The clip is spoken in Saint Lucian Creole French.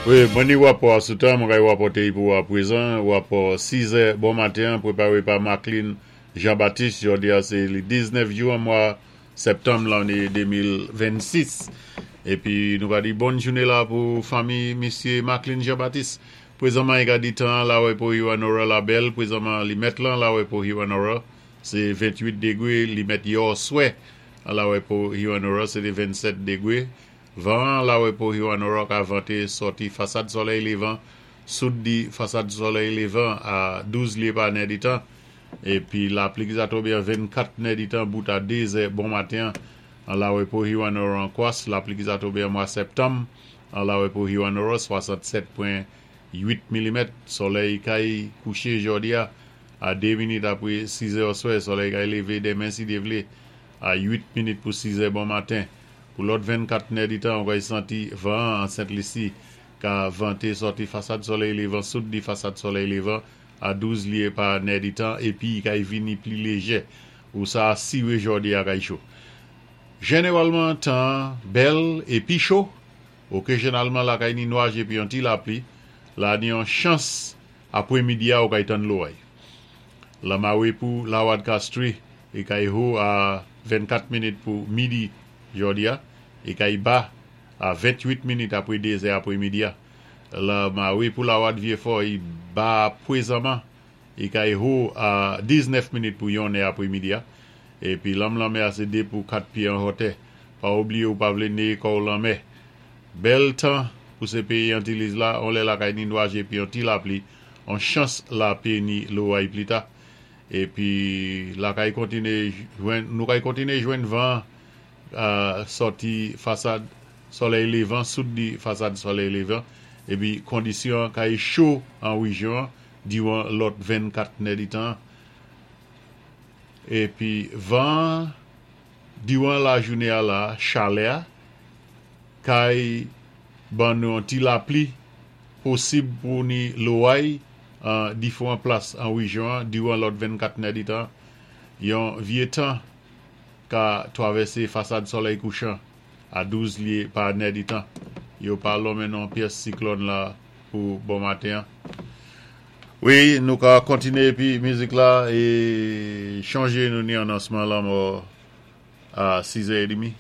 Wi, mwen ni wapò a sou tan, mwen kay wapòté i pou apwézan, wapò 6 zè bon maten an pweparé pa Marcline Jean Baptiste, jòdi a sé li 19 jou an mwa sèptanm lanné 2026. Épi nou ka di bòn jouné la pou fanmi misyé Marcline Jean Baptiste. Pwézanman i ka di tan an la wè pou Hewanorra la bèl, pwézanman li mèt lan la wè pou Hewanorra sé 28 degwé, li mèt yò swè an la wè pou Hewanorra sé té 27 degwé. Van an la wè pou Hewanorra ka vante sòti fasad solèy levan soud di fasad solèy levan a 12 lye pa nèditan, epi lapli ki sa tonbe an 24 nèditan bout a 2 zè bon maten an la wè pou Hewanorra an kwas lapli ki sa tonbe an mwa sèptanm an la wè pou Hewanorra 67.8 milimèt. Solèy kay kouche jòdi a a 2 minit apre 6 zè oswè, solèy kay leve demen si Dye vle a 8 minit pou 6 zè bon maten. Pou lòt 24 nèditan ou kay santi van an an Sent Lisi ka vante sòti fasad solèy levan soud di fasad solèy levan a 12 lye pa nèditan epi i kay vini pli lejè. Ou sa asire jòdi a kay cho. Jeneralman tan an bèl epi cho. Okezyonalman lakay ni nwaj epi yon ti lapli, la ni yon chans apwe midi a ou kay tann loray. Lamare pou Lawad Castri e kay ho a 24 minit pou midi jòdi a e kay ba a 28 minit apre 2 zè apre midi a. La mare pou Lawad Vyefò i ba pwezanman e kay ho a 19 minit pou yon nè apre midi a. Epi lanm lanmè a sé 2 pou 4 pye an hòtè. Pa oubliye ou pa vle neye kò w lanmè. Bèl tan pou se peyi Antiliz la, on lè lakay ni nwaj epi on ti lapli, on chans lape ni loray plita. Epi lakay kontine jwenn, nou kay kontine jwenn van an sòti fasad solèy levan, soud di fasad solèy levan, epi kondisyon an kay cho an rejyon an diran lòt 24 nèditan an. Epi van an diran lajounen a la, chalè a kay ban nou yon ti lapli posib pou ni loray an difran plas an rejyon an diran lòt 24 nèditan. Yon vye tan ka twavèse fasad solèy kouchan a 12 lye pa nèditan. Yo pa lonmen non pyès siklòn la pou bon maten an. Wi, nou ka kontine epi mizik la e chonje nou ni anonsman lanmò a 6 è edmi.